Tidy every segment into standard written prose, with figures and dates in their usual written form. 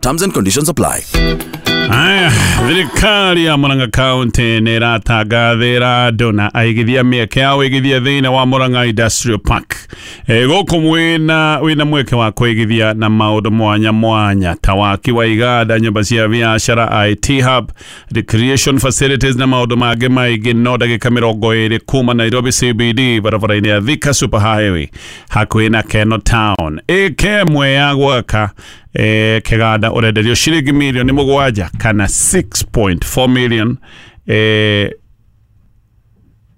Terms and conditions apply. Aya, thirikari ya Murang'a County nĩ ĩratangathĩra andũ na aigithia mĩeke ya ũigithia thĩinĩ wa Murang'a Industrial Park. Gũkũ wĩna mweke wa kũigithia na maũndũ mwanya mwanya ta waki wa iganda, nyũmba cia biacara, IT hub, recreation facilities na maũndũ mangĩ maingĩ. No ndagĩka 20 kuma Nairobi CBD barabara-inĩ ya Thika Super Highway hakuhĩ na Keno Town. Ĩka ĩmwe ya gwaka kĩganda ũrenderio ciringi mirioni 7 kana 6.4 million.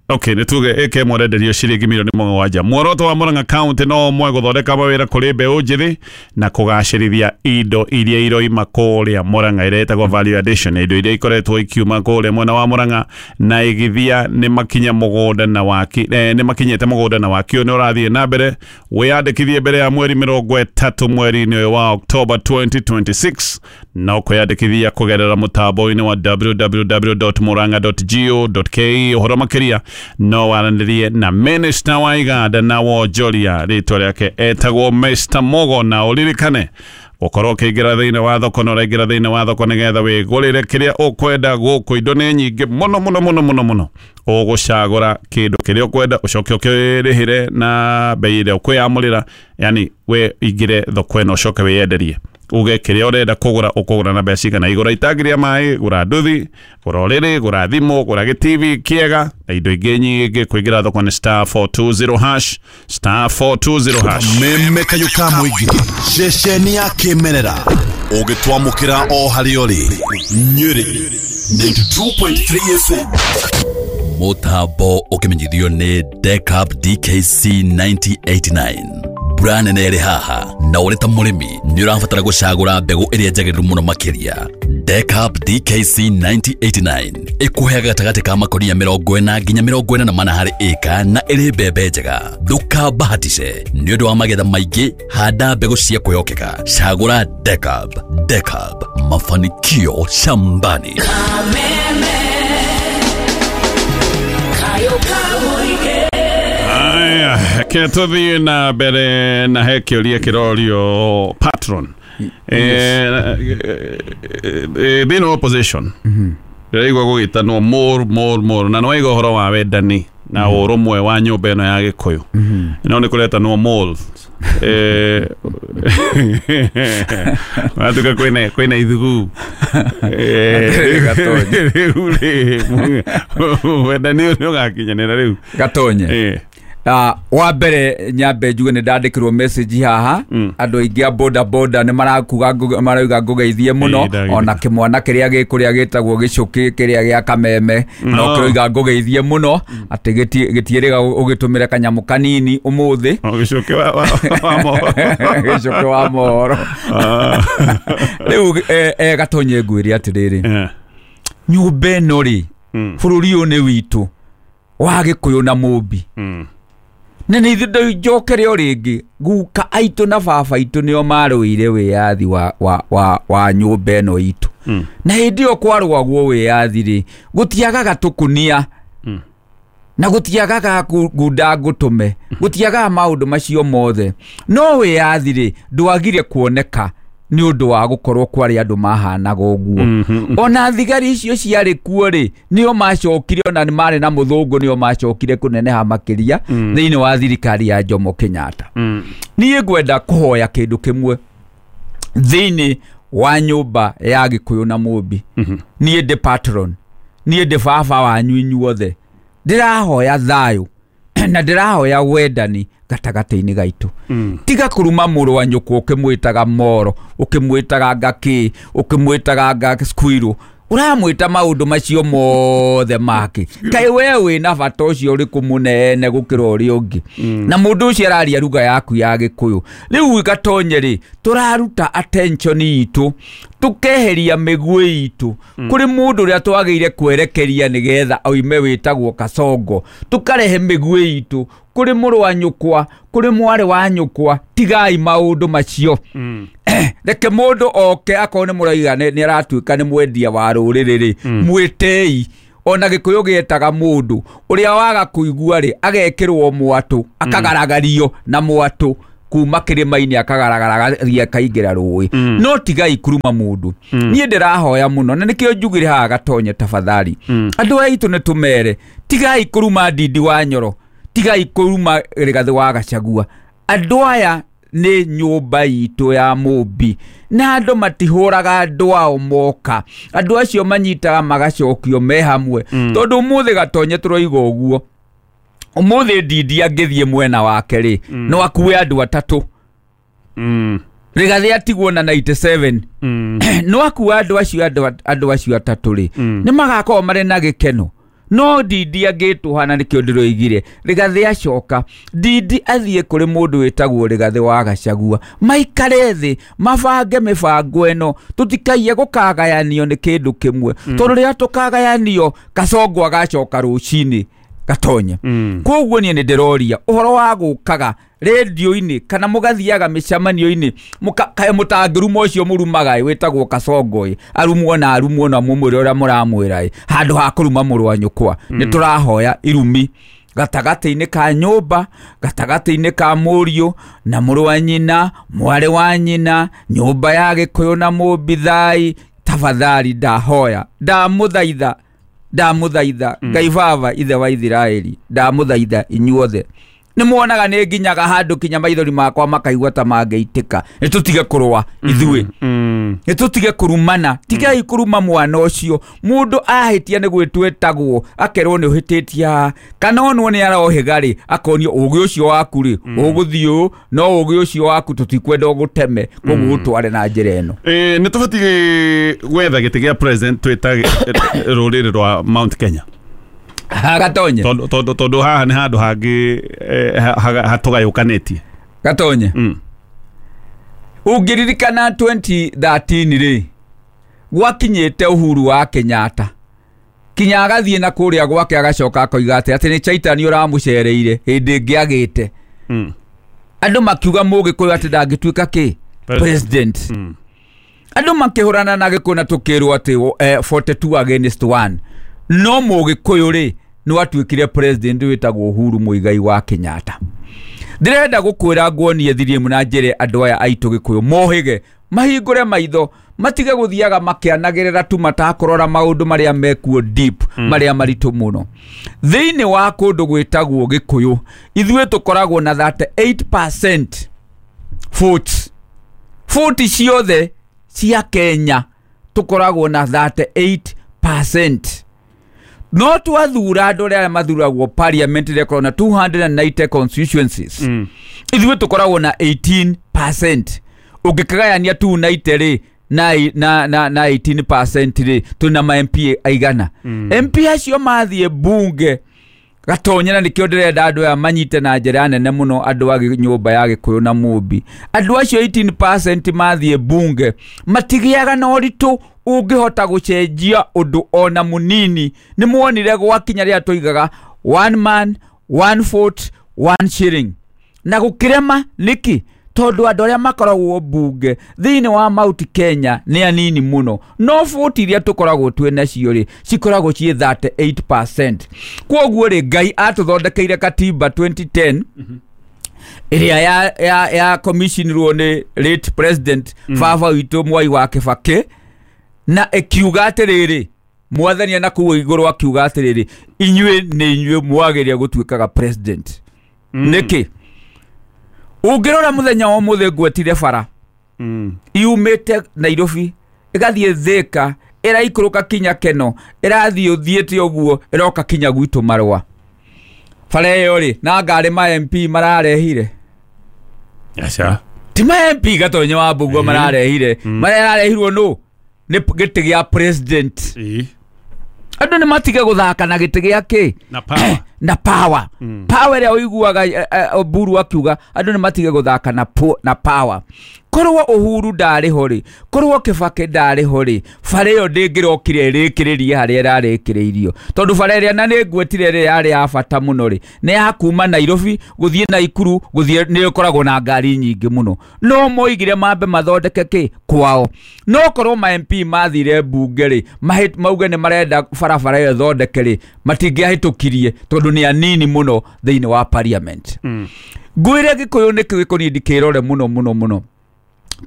Okay, nĩ tuge ĩka ĩmwe ũrenderio ciringi mirioni 7. Muoroto wa Murang'a County no ũmwe, gũthondeka mawĩra kũrĩ mbeũ njĩthĩ na kũgacĩrithia indo iria iroima kũrĩa Murang'a ĩrĩa ĩtagwo value addition, indo iria ikoretwo ikiuma kũrĩa mwena wa Murang'a na igithia nĩ makinya mũgũnda na waki nĩ makinyĩte mũgũnda na waki ũyũ nĩ ũrathiĩ na mbere. Wĩyandĩkithie mbere ya mweri 30 mweri-inĩ ũyũ wa October 2026 na ũkwĩyandĩkithia kũgerera mũtambo-inĩ wa www.murang'a.go.ke. Ũhoro makĩria no waranĩrie na Minister wa iganda na wonjoria, rĩtwa rĩake etagwo Mr. Mogo, na ũririkane ũkorwo ũkĩingĩra thĩinĩ wa thoko na ũraingĩra thĩinĩ wa thoko nĩgetha wĩgũrĩre kĩrĩa ũkwenda. Gũkũ indo nĩ nyingĩ mũno mũno mũno mũno mũno, ũgũcagũra kĩndũ kĩrĩa ũkwenda ũcoke ũkĩrĩhĩre na bei ĩrĩa ũkwĩyamũrĩra, yani we ingĩre thoko ĩno ũcoke wĩyenderie uge kĩrĩa ũrenda kũgũra ũkũgũra na mbeca cigana. Igũra itangi rĩa maĩ, gũra nduthi, gũra ũrĩrĩ, gũra thimũ, gũra gĩtivi kĩega na indo ingĩ nyingĩ. Kũingĩra thoko nĩ star 420 hash, star 420 hash. Meme kayũ ka mũingĩ ceceni ya kĩmerera ũgĩtwamũkĩra o harĩa ũrĩ. Nyĩrĩ 92.3 FM. Mũtambo ũkĩmenyithio nĩ Decap DKC 9089. Mbura nene ĩrĩ haha na ũrĩ ta mũrĩmi nĩ ũrabatara gũcagũra mbegũ ĩrĩa njagĩrĩru mũno makĩria. Decap DKC 9089 ĩkũheaga gatagatĩ ka makonia 40 nginya 44 harĩ ĩka na ĩrĩ mbembe njega. Ndũkabahatice nĩ ũndũ wa magetha maingĩ, handa mbegũ cia kwĩhokeka. Cagũra Decap. Decap, mafanikio shambani. Aya, ke tũthiĩ na mbere na he kĩũria kĩrorio patron. Thĩinĩ wa opposition ndĩraigua gũgĩtanwo more more more, na nĩwaigua ũhoro wa wendani na ũrũmwe wa nyũmba ĩno ya Gĩkũyũ, no nĩ kũretanwo moles. Watuka kwĩna ithugu. Rĩu rĩ, wendani ũyũ nĩ ũgakinyanĩra rĩu? Gatonye. Wa mbere nyambe njuge nĩ ndandĩkĩrwo message haha, andũ aingĩ a boda boda nĩ marakuga marauga ngũgeithie mũno, ona kĩmwana kĩrĩa gĩkũrĩa gĩtagwo gĩcũkĩ kĩrĩa gĩa kameme no kĩroiga ngũgeithie mũno, atĩ gĩtiĩrĩga ũgĩtũmĩre kanyamũ kanini ũmũthĩ. Gĩcũkĩ wa mohoro. Gĩcũkĩ wa mohoro. Rĩu Gatonye ngwĩre atĩrĩrĩ, nyũmba ĩno rĩ, bũrũri ũyũ nĩ witũ wa Gĩkũyũ na Mũmbi. Na nĩ ithuĩ njokere o rĩngĩ, guka aitũ na baba aitũ nĩo marũire wĩyathi wa nyũmba ĩno itũ. Na hĩndĩ ĩyo kwarũagwo wĩyathi rĩ, gũtiagaga tũkunia na gũtiagaga ngunda ngũtũme, gũtiagaga maũndũ macio mothe. No wĩyathi rĩ, ndwagire kuoneka nĩ ũndũ wa gũkorwo kwarĩ andũ mahanaga ũguo. Ona thigari icio ciarĩ kuo rĩ, nĩo macokire, ona nĩ marĩ na mũthũngũ, nĩo macokire kũneneha makĩria thĩinĩ wa thirikari ya Jomo Kenyatta. Niĩ ngwenda kũhoya kĩndũ kĩmwe thĩinĩ wa nyũmba ya Gĩkũyũ na Mũmbi. Niĩ ndĩ patron, niĩ ndĩ baba wanyu inyuothe. Ndĩrahoya thayũ na ndĩrahoya wendani gatagatĩ-inĩ gaitũ. Tiga kũruma mũrũ wa nyũkwa ũkĩmwĩtaga moro, ũkĩmwĩtaga ngakĩ, ũkĩmwĩtaga squirrel, ũramwĩta maũndũ macio mothe make. Kaĩ we wĩna bata ũcio ũrĩkũ mũnene gũkĩra ũrĩa ũngĩ? Na mũndũ ũcio araria ruga yaku ya Gĩkũyũ. Rĩu Gatonye rĩ, tũraruta attention itũ, tũkeheria mĩguĩ itũ kũrĩ mũndũ ũrĩa twagĩire kwerekeria nĩgetha oime wĩtagwo Kasongo, tũkarehe mĩguĩ itũ kũrĩ mũrũ wa nyũkwa, kũrĩ mwarĩ wa nyũkwa. Tigai maũndũ macio. Reke mũndũ oke akorwo nĩ mũraiga nĩ aratuĩka nĩ mwendia wa rũrĩrĩ rĩ, mwĩtei. Ona Gĩkũyũ gĩetaga mũndũ ũrĩa waga kũigua rĩ, agekĩrwo mwatũ, akagaragario na mwatũ. kuma kĩrĩma-inĩ akagaragara agathiĩ akaingĩra rũĩ. No tigai kuruma mũndũ. Niĩ ndĩrahoya mũno na nĩkĩo njugire haha Gatonye tafadhali. Andũ aitũ nĩ tũmere tigai kuruma Ndindi wa Nyoro, tigai kuruma Rigathĩ wa Gachagua. Andũ aya nĩ nyũmba itũ ya Mũmbi na andũ matihũraga andũ ao moka. Andũ acio manyitaga magacokio me hamwe. Tondũ ũmũthĩ Gatonye tũroiga ũguo, ũmũthĩ Ndindi angĩthiĩ mwena wake rĩ, no akue andũ atatũ. Rigathĩ atigwo na 97. No akue andũ acio andũ acio atatũ rĩ, nĩ magakorwo marĩ na gĩkeno. No Ndindi angĩtũhana nĩkĩo ndĩroigire Rigathĩ acoka, Ndindi athiĩ kũrĩ mũndũ wĩtagwo Rigathĩ wa Gachagua, maikare thĩ mabange mĩbango ĩno, tũtikaiye gũkagayanio nĩ kĩndũ kĩmwe. Tondũ rĩrĩa tũkagayanio Kasongo agacoka rũcinĩ Gatonye. Koguo niĩ nĩ ndĩroria ũhoro wa gũkaga rĩndiũ-inĩ kana mũgathiaga mĩcemanio-inĩ kaĩ mũtangĩruma ũcio mũrumaga ĩ wĩtagwo Kasongo ĩ, arumwo na arumwo na mũmwĩre ũrĩa mũramwĩra ĩ, handũ ha kũruma mũrũ wa nyũkwa. Nĩ tũrahoya irumi gatagatĩ-inĩ ka nyũmba, gatagatĩ-inĩ ka mũriũ na mũrũ wa nyina, mwarĩ wa nyina, nyũmba ya Gĩkũyũ na Mũmbi thai. Tafadhali ndahoya, ndamũthaitha, ndamũthaitha Ngai baba ithe wa Ithiraeli, ndamũthaitha inyuothe. Nĩ muonaga nĩ nginyaga handũ kinya maithori makwa makaigua ta mangĩitĩka. Nĩ tũtige kũrũa ithuĩ, nĩ tũtige kũrumana. Tigai kũruma mwana ũcio. Mũndũ ahĩtia nĩ gwĩtwetagwo akerwo nĩ ũhĩtĩtie haha, kana onwo nĩ arohĩga rĩ, akonio ũgĩ ũcio waku rĩ ũgũthiĩ ũũ, no ũgĩ ũcio waku tũtikwenda ũgũteme, koguo ũtware na njĩra ĩno. Nĩ tũbatiĩ gwetha gĩtĩ gĩa president twĩta rũrĩrĩ rwa Mount Kenya. Gatonye Tondũ haha nĩ handũ hangĩ hatũgayũkanĩtie. Gatonye, ũngĩririkana 2013 rĩ, gwakinyĩte Uhuru wa Kenyatta kinya agathiĩ na kũrĩa gwake agacoka akoiga atĩ nĩ Chaitani ũramũcereire hĩndĩ ĩngĩ agĩte. Andũ makiuga Mũgĩkũyũ atĩ ndangĩtuĩka kĩ president. Andũ makĩhũrana na Gĩkũyũ na tũkĩrwo atĩ 42 against 1. No Mũgĩkũyũ rĩ nĩ watuĩkire president wĩtagwo Uhuru Muigai wa Kenyatta. Ndĩrenda gũkwĩra nguonie thirimu na njĩre andũ aya aitũ Gĩkũyũ mohĩge, mahingũre maitho, matige gũthiaga makĩanagĩrĩra tu matakũrora maũndũ marĩa mekuo deep, marĩa maritũ mũno. Thĩinĩ wa kũndũ gwĩtagwo Gĩkũyũ ithuĩ tũkoragwo na 38% votes. Vote ciothe cia Kenya tũkoragwo na 38%. No twathura andũ arĩa mathuragwo parliament ĩrĩa na 290 constituencies. Ithuĩ tũkoragwo na 18%. Ũngĩkagayania 290 rĩ na 18% rĩ, twĩna ma MP aigana. MP acio mathiĩ bunge Gatonye, na nĩkĩo ndĩrenda andũ aya manyite na njĩra nene mũno, andũ a nyũmba ya Gĩkũyũ na Mũmbi. Andũ acio 18% mathiĩ bunge matigĩaga na ũritũ ũngĩhota gũcenjia ũndũ ona mũnini. Nĩ muonire gwakinya rĩrĩa tũigaga one man one vote one shilling, na gũkĩrema nĩkĩ? Tondũ andũ arĩa makoragwo bunge thĩinĩ wa Mount Kenya nĩ anini mũno, no vote iria tũkoragwo twĩ nacio rĩ cikoragwo ciĩ 38%. Kwoguo rĩ, Ngai atũthondekeire katiba 2010 ĩrĩa ya commissionirwo nĩ late president baba witũ Mwai wa Kibaki, na ĩkiuga atĩrĩrĩ, mwathani na kũu igũrũ akiuga atĩrĩrĩ, inyuĩ nĩ inyuĩ mwagĩrĩire gũtuĩkaga president. Nĩkĩ? Ũngĩrora mũthenya wa ũmũthĩ ngwetire bara yumĩte Nairobi ĩgathiĩ Thika, ĩraikũrũka kinya Keno, ĩrathiĩ ũthiĩte ũguo ĩroka kinya gwitũ Marũa. Bara ĩyo rĩ, na ngari ma MP mararehire. Aca. Ti ma MP Gatonye wa Mbugua mararehire. Marĩa ararehirwo nũ? Nĩ gĩtĩ gĩa president. Andũ nĩ matige gũthaka na gĩtĩ gĩa kĩ? Na power. Na power. Power ĩrĩa ũiguaga Oburu akiuga andũ nĩ matige gũthaka na power. Korwo Uhuru ndarĩ ho rĩ, korwo Kibaki ndarĩ ho rĩ, bara ĩyo ndĩngĩrokire ĩrĩkĩrĩrie harĩa ĩrarĩkĩrĩirio. Tondũ bara ĩrĩa na nĩ ngwetire ĩrĩa yarĩ ya bata mũno rĩ, nĩ ya kuma Nairobi gũthiĩ Naikuru, gũthiĩ nĩ ĩkoragwo na ngari nyingĩ mũno. No moigire mambe mathondeke kĩ kwao. No korwo ma MP mathire bunge rĩ, mauge nĩ marenda barabara ĩyo ĩthondeke rĩ, matingĩahĩtũkirie tondũ nĩ anini mũno thĩinĩ wa parliament. Ngwĩre Gĩkũyũ nĩkĩ gĩkoniĩ ndikĩrore mũno mũno mũno.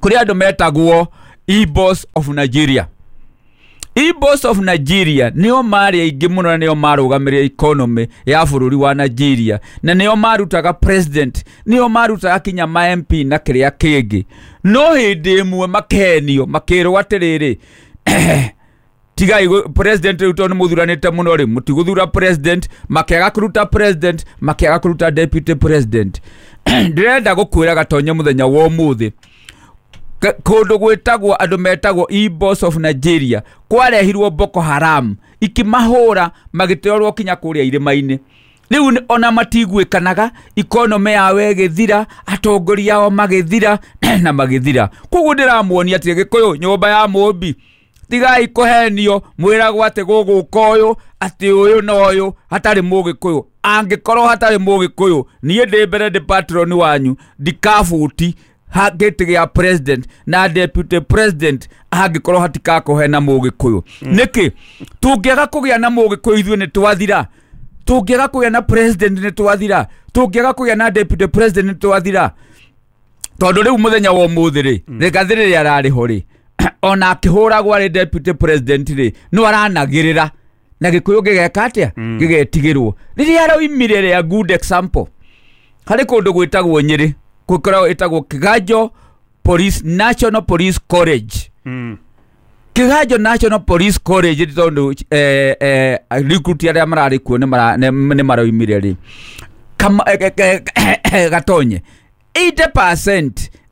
Kũrĩ andũ metagwo Igbos of Nigeria. Igbos of Nigeria nĩo marĩ aingĩ mũno na nĩo marũgamĩrĩire economy ya bũrũri wa Nigeria, na nĩo marutaga president, nĩo marutaga kinya ma MP na kĩrĩa kĩngĩ. No hĩndĩ ĩmwe makenio makĩrwo atĩrĩrĩ, tigai president rĩu tondũ nĩmũthuranĩte mũno rĩ, mũtigũthura president, makĩaga kũruta president, makĩaga kũruta deputy president. Ndĩrenda gũkwĩra Gatonye mũthenya wa ũmũthĩ, kũndũ gwĩtagwo andũ metagwo Igbos of Nigeria kwarehirwo Boko Haram ikĩmahũra magĩtwarwo kinya kũrĩa irĩma-inĩ. Rĩu ona matiguĩkanaga, economy yao ĩgĩthira, atongoria ao magĩthira na magĩthira. Koguo ndĩramuonia atĩ Gĩkũyũ nyũmba ya Mũmbi, tigai kũhenio mwĩragwo atĩ gũgũka ũyũ atĩ ũyũ na ũyũ hatarĩ Mũgĩkũyũ. Angĩkorwo hatarĩ Mũgĩkũyũ, niĩ ndĩ mbere ndĩ patron wanyu, ndikabuti gĩtĩ gĩa president na deputy president angĩkorwo hatikakũhe na Mũgĩkũyũ. Nĩkĩ tũngĩaga kũgĩa na Mũgĩkũyũ ithuĩ nĩ twathira? Tũngĩaga kũgĩa na president nĩ twathira? Tũngĩaga kũgĩa na deputy president nĩ twathira? Tondũ rĩu mũthenya wa ũmũthĩ rĩ, Rigathĩ rĩrĩa ararĩ ho rĩ, ona akĩhũragwo arĩ deputy president rĩ, no aranagĩrĩra na Gĩkũyũ gĩgeka atĩa? Gĩgetigĩrwo. Rĩrĩa aroimire rĩa good example, harĩ kũndũ gwĩtagwo Nyĩrĩ, gũkoragwo ĩtagwo Kiganjo Police National Police College. Kiganjo National Police College tondũ recruit arĩa mararĩ kuo nĩ maroimire rĩ, Gatonye 80%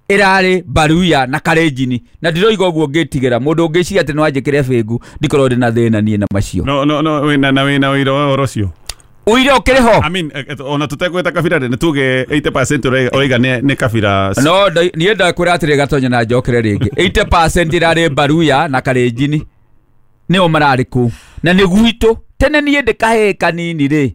ĩrarĩ Baruya na Kalenjin, na ndiroiga ũguo ngĩtigĩra mũndũ ũngĩciria atĩ no anjĩkĩre bĩngu, ndikorwo ndĩ na thĩna niĩ na macio. No no no wĩna na wĩna ũira wa ũhoro ũcio. Ũira ũkĩrĩ ho? I mean, ona tũtegwĩta kabira rĩ, nĩ tuge 80% ũraiga nĩ kabira. No niĩ ndakwĩra atĩrĩ Gatonye na njokere rĩngĩ, 80% ĩrarĩ Baruya na Kalenjin nĩo mararĩ kũu, na nĩ gwitũ. Tene niĩ ndĩ kahĩĩ kanini rĩ,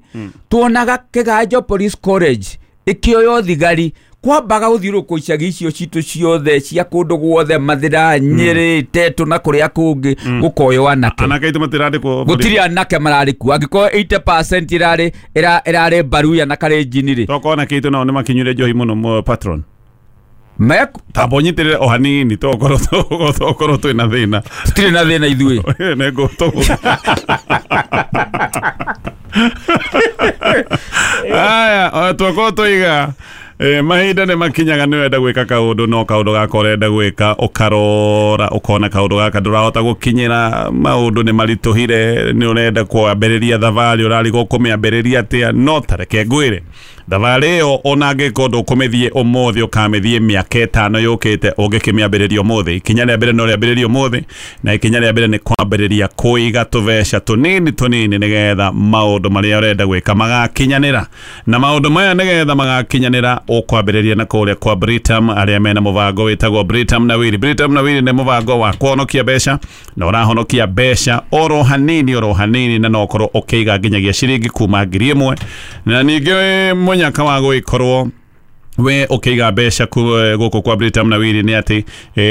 tuonaga Kiganjo Police College ĩkĩoywo thigari, kwambaga gũthiũrũrũkwo icagi icio citũ ciothe cia kũndũ guothe, Mathĩra, Nyĩrĩ, Tetũ na kũrĩa kũngĩ, gũkoywo anake. Anake aitũ matirandĩkwo. Gũtirĩ anake mararĩ kuo. Angĩkorwo 80% ĩrarĩ Baruya na Kalenjin rĩ, tokorwo anake aitũ nao nĩmakinyuire njohi mũno patron. Tamba ũnyitĩrĩre o hanini tokorwo twĩna thĩna. Tũtirĩ na thĩna ithuĩ. Aya, twakorwo tũiga mahinda nĩ makinyaga nĩ wenda gwĩka kaũndũ, no kaũndũ gaka ũrenda gwĩka ũkarora ũkona kaũndũ gaka ndũrahota gũkinyĩra, maũndũ nĩ maritũhire, nĩ ũrenda kwambĩrĩria thabarĩ ũrarigwo kũmĩambĩrĩria atĩa. No ta reke ngwĩre, thabarĩ ĩyo ona angĩkorwo ndũkũmĩthiĩ ũmũthĩ ũkamĩthiĩ mĩaka ĩtano yũkĩte, ũngĩkĩmĩambĩrĩria ũmũthĩ. Ikinya rĩa mbere no rĩambĩrĩrie ũmũthĩ, na ikinya rĩa mbere nĩ kwambĩrĩria kũiga tũbeca tũnini tũnini nĩgetha maũndũ marĩa ũrenda gwĩka magakinyanĩra. Na maũndũ maya nĩgetha magakinyanĩra ũkwambĩrĩria na kũrĩa kwa Britam, arĩa mena mũbango wĩtagwo Britam na Wiri. Britam na Wiri nĩ mũbango wa kũhonokia mbeca, na ũrahonokia mbeca oro hanini oro hanini, na no ũkorwo ũkĩiga nginyagia ciringi kuma 1,000. Na ningĩ mũnyaka wa gũgĩkorwo we ũkĩiga mbeca gũkũ kwa Britam na Wiri nĩ atĩ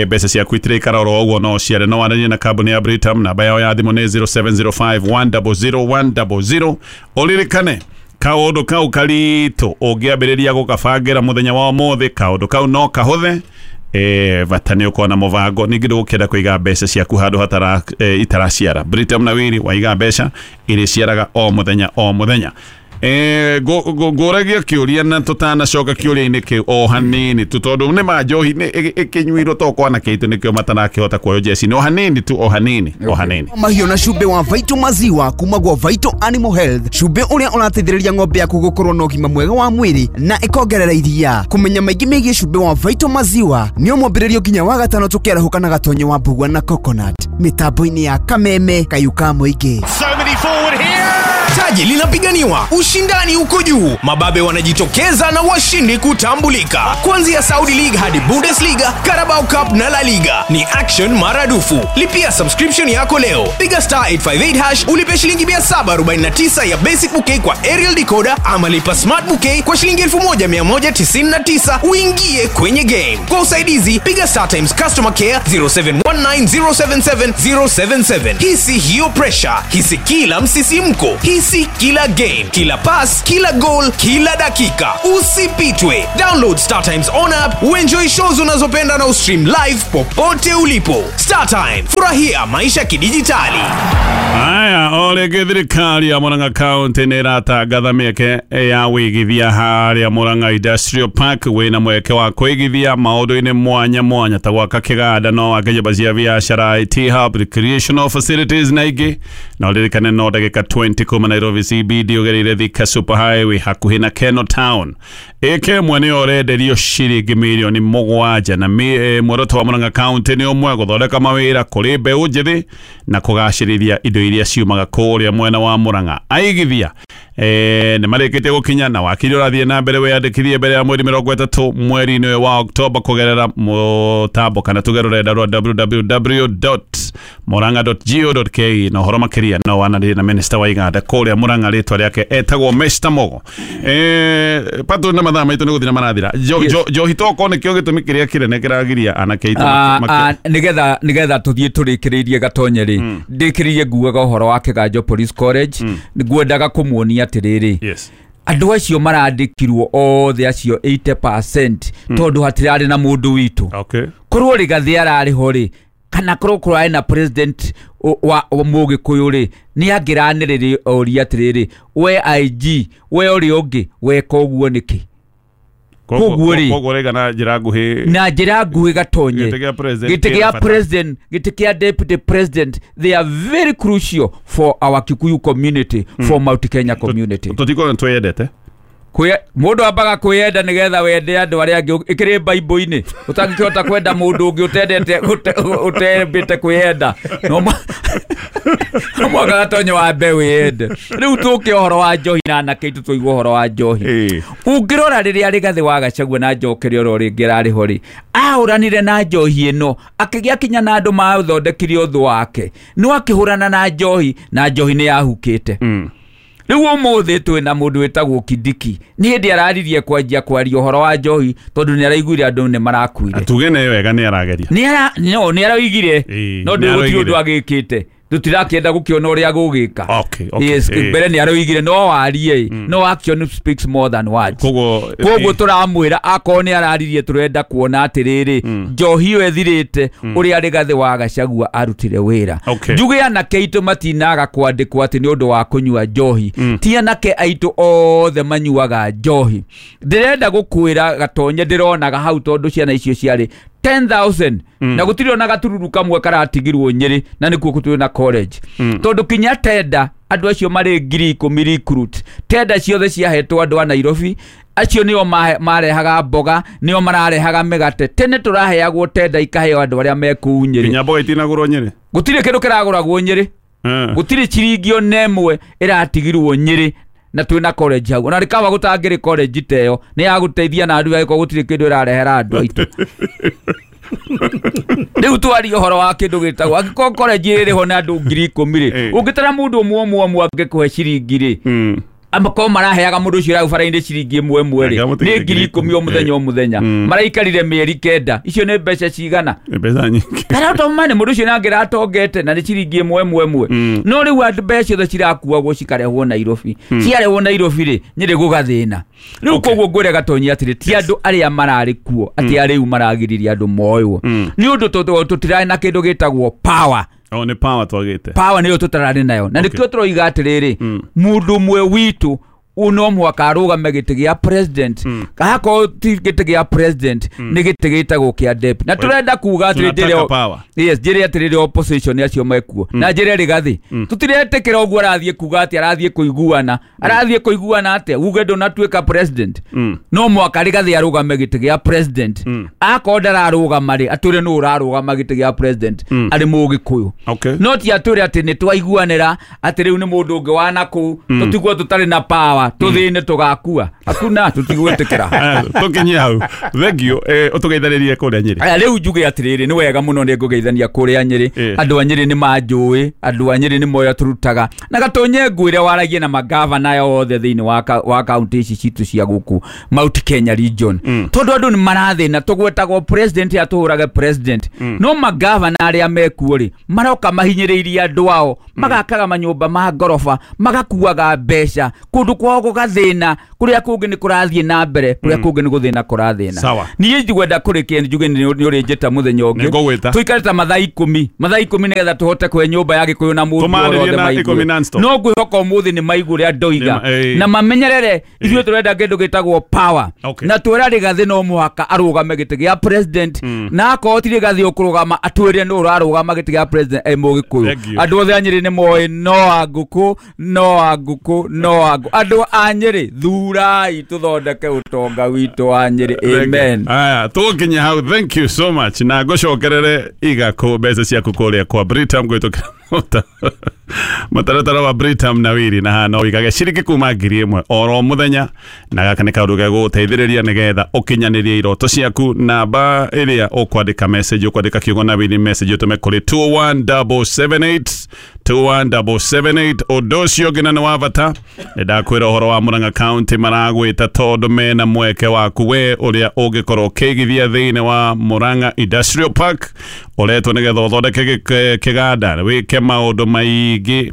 mbeca ciaku itirĩikara oro ũguo, no ciare. No waranie na kambuni ya Britam, namba yao ya thimũ nĩ 0705 100 100. Ũririkane kaũndũ kau karitũ ũngĩambĩrĩria gũkabangĩra mũthenya wa ũmũthĩ, kaũndũ kau no kahũthe. Bata nĩ ũkorwo na mũbango. Ningĩ ndũgũkĩenda kũiga mbeca ciaku handũ hatara itaraciara. Britam na Wiri waiga mbeca irĩciaraga o mũthenya o mũthenya. Ngũragia kĩũria na tũtanacoka kĩũria-inĩ kĩu o hanini tu, tondũ nĩ ma njohi ĩkĩnyuirwo to kwa anake aitũ nĩkĩo matarakĩhota kuoywo jeci. No hanini tu, o hanini, o hanini. Mahiũ na cumbĩ wa Vital maziwa kuma gwa Vital Animal Health, cumbĩ ũrĩa ũrateithĩrĩria ng'ombe yaku gũkorwo na ũgima mwega wa mwĩrĩ na ĩkongerera iria. Kũmenya maingĩ megiĩ cumbĩ wa Vital maziwa nĩ ũmwambĩrĩrio nginya wa gatano tũkĩarahũka na Gatonye wa Mbugua na Coconut mĩtambo-inĩ ya Kameme Kayuka mũingĩ. So many forward here. Taji linapiganiwa, ushindani uko juu, mababe wanajitokeza na washindi kutambulika. Kuanzia Saudi League hadi Bundesliga, Carabao Cup na La Liga ni action maradufu. Lipia subscription yako leo, piga *858# ulipe shilingi 749 ya basic bouquet kwa aerial decoder, ama lipa smart bouquet kwa shilingi 1199 uingie kwenye game. Kwa usaidizi piga Star Times customer care 0719077077. Hisi hiyo pressure, hisi kila msisimko, hisi Hisi kila game, kila pass, kila goal, kila dakika. Usipitwe. Download Star Times on app, uenjoy shows unazopenda na ustream live popote ulipo. Star Time, furahia maisha kidijitali. Aya, ole thirikari ya Murang'a County nä ĩratangatha mĩeke ya wĩigithia harĩa Murang'a Industrial Park wĩna mweke wa kwĩigithia maũndũ-inĩ mwanya mwanya ta gwaka kĩganda no wake nyũmba cia biacara, IT hub, recreational facilities na ingĩ. Na ũririkane no ndagĩka 20 kuma Nairobi CBD ũgereire Thika Super Highway hakuhĩ na Keno Town. Ĩka ĩmwe nĩyo ũrenderio ciringi mirioni 7 na muoroto wa Murang'a County nĩ ũmwe, gũthondeka mawĩra kũrĩ mbeũ njĩthĩ na kũgacĩrithia indo iria ciumaga kũrĩa mwena wa Murang'a. Aigithia nĩ marĩkĩtie gũkinya na wakiri ũrathiĩ na mbere wĩyandĩkithie mbere ya mweri 30 mweri-inĩ ũyũ wa Oktoba kũgerera mũtambo kana tuge rũrenda rwa www.murang'a.go.ke na ũhoro makĩria no wanarĩrie na minista wa iganda kũrĩa Murang'a, rĩtwa rĩake etagwo Mr. Mogo. Patũ na mathaa maitũ nĩ gũthira marathira. Njohi toko nĩkĩo gĩtũmi kĩrĩa kĩnene kĩragiria anake aitũ Nĩgetha tũthiĩ tũrĩkĩrĩirie Gatonye rĩ, ndĩkĩrĩirie nguaga ũhoro wa Kĩganjo Police College, ngwendaga kũmuonia atĩrĩrĩ, Yes. andũ acio marandĩkirwo othe acio 80% tondũ hatirarĩ na mũndũ witũ. Okay. Korwo Rigathi ararĩ ho rĩ, kana korwo kũrarĩ na president wa Mũgĩkũyũ rĩ, nĩ angĩranĩrĩria oria atĩrĩrĩ, we IG, we ũrĩa ũngĩ weka ũguo nĩkĩ? Koguo rĩ, Koguo rĩga na njĩra nguhĩ, na njĩra nguhĩ Gatonye, Gĩtĩ kĩa president gĩtĩ kĩna kĩa bata. president, gĩtĩ kĩa deputy president, they are very crucial for our Kikuyu community, for Mount Kenya community. Tũtikorwo nĩtwĩyendete. Mũndũ ambaga kwĩyenda nĩgetha wende andũ arĩa angĩ. Ĩkĩrĩ Bible-inĩ ũtangĩkĩhota kwenda mũndũ ũngĩ ũtendete ũtembĩte kwĩyenda, no mwaka Gatonye wambe wĩyende. Rĩu tũke ũhoro wa njohi na anake aitũ tũigue ũhoro wa njohi. Ũngĩrora rĩrĩa Rigathi wa Gachagua na Njokere oro rĩngĩ ararĩ ho rĩ, ahũranire na njohi ĩno akĩgĩa kinya na andũ mathondekire ũthũ wake, no akĩhũrana na njohi na njohi nĩ yahukĩte. Rĩu ũmũthĩ twĩna mũndũ wĩtagwo Kindiki, nĩ hĩndĩ araririe kwanjia kwaria ũhoro wa njohi tondũ nĩ araiguire andũ nĩ marakuire. Tuge nĩ wega nĩ arageria. Nĩ araugire, no nĩ gũtirĩ ũndũ araugire. agĩkĩte, tũtirakĩenda gũkĩona ũrĩa gũgĩka. Okay, Yes, mbere nĩ araugire no warie, no action speaks more than words. Koguo Koguo tũramwĩra akorwo nĩ araririe, tũrenda kuona atĩrĩrĩ, njohi ĩyo ĩthirĩte ũrĩa Rigathi wa Gachagua arutire wĩra. Okay. Njuge anake aitũ matinaga kwandĩkwo atĩ nĩ ũndũ wa kũnyua njohi. Ti anake aitũ othe manyuaga njohi. Ndĩrenda gũkwĩra Gatonye, ndĩronaga hau tondũ ciana icio ciarĩ 10,000 na gũtirĩ ona gatururu kamwe karatigirwo Nyĩrĩ, na nĩkuo twĩ na college, tondũ kinya tenda andũ acio marĩ 10,000 recruit, tenda ciothe ciahetwo andũ a Nairobi, acio nĩo marehaga mboga, nĩo mararehaga mĩgate. Tene tũraheagwo tenda ikaheo andũ arĩa me kũu Nyĩrĩ. Nginya mboga itinagũrwo Nyĩrĩ. Gũtirĩ kĩndũ kĩragũragwo Nyĩrĩ, gũtirĩ ciringi ona ĩmwe ĩratigirwo Nyĩrĩ, na twĩna college hau. Ona rĩkawa gũtangĩrĩ college ta ĩyo nĩ ya gũteithia na andũ angĩkorwo gũtirĩ kĩndũ ĩrarehera andũ aitũ. Rĩu twarie ũhoro wa kĩndũ gĩtagwo angĩkorwo college ĩrĩ ho na andũ 10,000 rĩ, ũngĩtara mũndũ ũmwe ũmwe ũmwe angĩkũhe ciringi rĩ, amakorwo maraheaga mũndũ ũcio ũrĩa bara-inĩ ciringi ĩmwe ĩmwe rĩ, nĩ 10,000 o mũthenya o mũthenya. Maraikarire mĩeri 9, icio nĩ mbeca cigana? Mbeca nyingĩ. Kana ũtomane mũndũ ũcio nangĩratongete na nĩ ciringi ĩmwe ĩmwe ĩmwe. No rĩu andũ mbeca ciothe cirakuagwo cikarehwo Nairobi, ciarehwo Nairobi rĩ, Nyĩrĩ gũgathĩna rĩu. Koguo ngwĩre Gatonye atĩrĩ, ti andũ arĩa mararĩ kuo atĩ arĩu maragiririe andũ moywo, nĩ ũndũ tũtirarĩ na kĩndũ gĩtagwo power. O nĩ power twagĩte. Power nĩyo tũtararĩ nayo, na nĩkĩo tũroiga atĩrĩrĩ, mũndũ ũmwe witũ no mũhaka arũgame gĩtĩ gĩa president, akorwo ti gĩtĩ gĩa president nĩ gĩtĩ gĩtagwo kĩa deputy. Na tũrenda kuga atĩrĩ, Tunataka power. Yes, njĩre atĩrĩrĩ opposition acio mekuo na njĩre Rigathi, tũtiretĩkĩra ũguo arathiĩ kuga atĩ arathiĩ kũiguana, arathiĩ kũiguana atĩa uge ndũnatuĩka president. No mũhaka Rigathi arũgame gĩtĩ gĩa president. Akorwo ndararũgama rĩ, atwĩre nũ ũrarũgama gĩtĩ gĩa president arĩ Mũgĩkũyũ. Okay. No ti atwĩre atĩ nĩ twaiguanĩra atĩ rĩu nĩ mũndũ ũngĩ wa nakũu, tũtigwo tũtarĩ na power. tũgakua tũthĩne tũgakua hakuna tũtigwĩtĩkĩra. Tũkinyie hau, thank you. Ũtũgeithĩrĩrie kũrĩa Nyĩrĩ. Aya, rĩu njuge atĩrĩrĩ, nĩ wega mũno nĩ ngũgeithania kũrĩa Nyĩrĩ. Andũ a Nyĩrĩ nĩ manjũĩ, andũ a Nyĩrĩ nĩ moya tũrutaga na gatonye ngwĩre waragie na magavana othe thĩinĩ wa kaunti ici citũ cia gũkũ Mount Kenya region, tondũ andũ nĩ marathĩna. Tũgwetagwo president atũhũrage president, no magavana arĩa mekuo rĩ maroka mahinyĩrĩirie andũ ao, magakaga manyũmba ma ngoroba, magakuaga mbeca kũndũ kwao gũgathĩna, kũrĩa kũngĩ nĩ kũrathiĩ na mbere, kũrĩa kũngĩ nĩ gũthĩna kũrathĩna. Sawa. Niĩ njigwenda kũrĩkia njuge nĩ ũrĩnjĩta mũthenya ũngĩ. Nĩngũgwĩta. Tũikare ta mathaa 10, mathaa 10, nĩgetha tũhote kũhe nyũmba ya Gĩkũyũ na mũndũ Tũmarĩrie othe na maigue. 10 non-stop. No ngwĩhoka ũmũthĩ nĩ maigua ũrĩa ndoiga na mamenyerere ithuĩ tũrenda kĩndũ gĩtagwo power. Na twĩra Rigathĩ no mũhaka arũgame gĩtĩ gĩa president, na akorwo ti Rigathĩ ũkũrũgama, atwĩre nũ ũrarũgama gĩtĩ gĩa president e Mũgĩkũyũ. Thank you. Andũ othe a Nyĩrĩ nĩ moĩ no a ngũkũ, no a ngũkũ, no a ngũkũ. Andũ a Nyĩrĩ, thurai tũthondeke ũtonga witũ wa Nyĩrĩ. Amen. Aya, tũgũkinya hau, thank you so much, na ngũcokerere iga kũ mbeca ciaku kũrĩa kwa Britam gwĩtũkĩra mũtaratara wa Britam na wiri, na haha no wĩigage ciringi kuma 1,000 oro mũthenya, na gaka nĩ kaũndũ gegũgũteithĩrĩria nĩgetha ũkinyanĩrie iroto ciaku. Namba ĩrĩa ũkwandĩka message, ũkwandĩka kiugo na wiri message, ũtũme kũrĩ 21778, 21778. Ũndũ ũcio ũngĩ na nĩ wa bata, nĩ ndakwĩra ũhoro wa Murang'a County maragwĩta tondũ mena mweke waku we ũrĩa ũngĩkorwo ũkĩigithia thĩinĩ wa Murang'a Industrial Park, ũretwo nĩgetha ũthondeke kĩganda, wĩke maũndũ maingĩ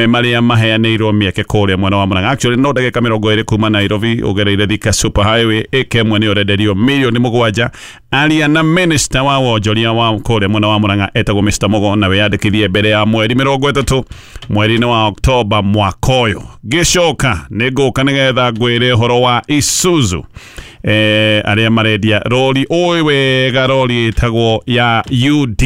marĩa maheanĩirwo mĩeke kũrĩa mwena wa Murang'a. Actually no ndagĩka 20 kuma Nairobi ũgereire Thika Super Highway, ĩka ĩmwe nĩ ũrenderio mirioni 7. Aria na minister wa wonjoria wa kũrĩa mwena wa Murang'a etagwo Mr Mugo, na wĩyandĩkithie mbere ya mweri 30 mweri-inĩ wa Oktoba mwaka ũyũ. Ngĩcoka nĩ ngũka nĩgetha ngwĩre ũhoro wa Isuzu, arĩa marendia rori ũĩ wega, rori ĩtagwo ya UD.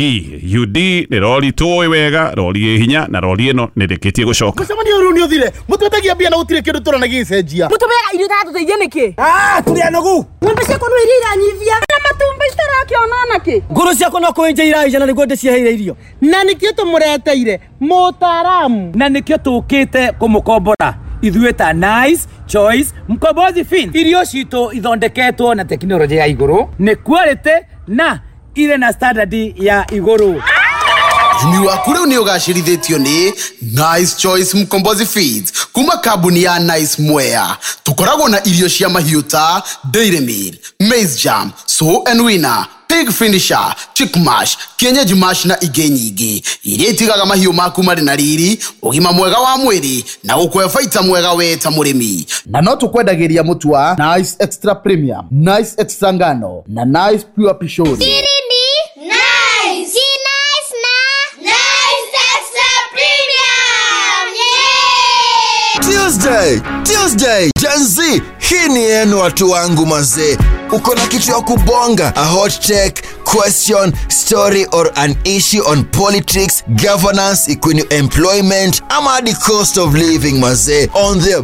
UD nĩ rori tũĩ wega, rori ĩ hinya, na rori ĩno nĩ rĩkĩtie gũcoka. Mũcemanio ũyũ nĩ ũthire, mũtwetagia mbia na gũtirĩ kĩndũ tũrona gĩgĩcenjia. Mũtũmĩaga irio itatũteithia nĩkĩ? Ah, tũrĩ anogu. Ng'ombe ciakwa no iria iranyivia na matumbĩ citarakĩona nakĩ. Ngũrũ ciakwa no kũenja iraija na nĩguo ndĩciheire irio. Na nĩkĩo tũmũreteire mũtaaramu. Na nĩkĩo tũkĩte kũmũkombora ithuĩ ta Nice Choice Mkombozi Fin. Irio citũ ithondeketwo na tekinoronjĩ ya igũrũ, nĩ quality na irĩ na standard ya igũrũ. Ũrĩmi waku rĩu nĩ ũgacĩrithĩtio nĩ Nice Choice Mkombozi Feeds kuma kambuni ya Nice Mwea. Tũkoragwo na irio cia mahiũ ta Dairy Meal, Maize Jam, Sow and Winner, Pig Finisher, Chick Mash, Kienyeji Mash na ingĩ nyingĩ iria itigaga mahiũ maku marĩ na riri, ũgima mwega wa mwĩrĩ na gũkũhe baita mwega we ta mũrĩmi. Na no tũkwendagĩria mũtu wa Nice Extra Premium, Nice Extra Ngano na Nice Pure Pishori. Siri ni nice. Si nice na Nice Extra Premium. Yeah! Tuesday, Tuesday, Gen Z, hii ni yenu watu wangu mazee. Uko na kitu ya kubonga, a hot take, question, story or an issue on politics, governance, ikuwe ni employment ama hadi cost of living mazee, on the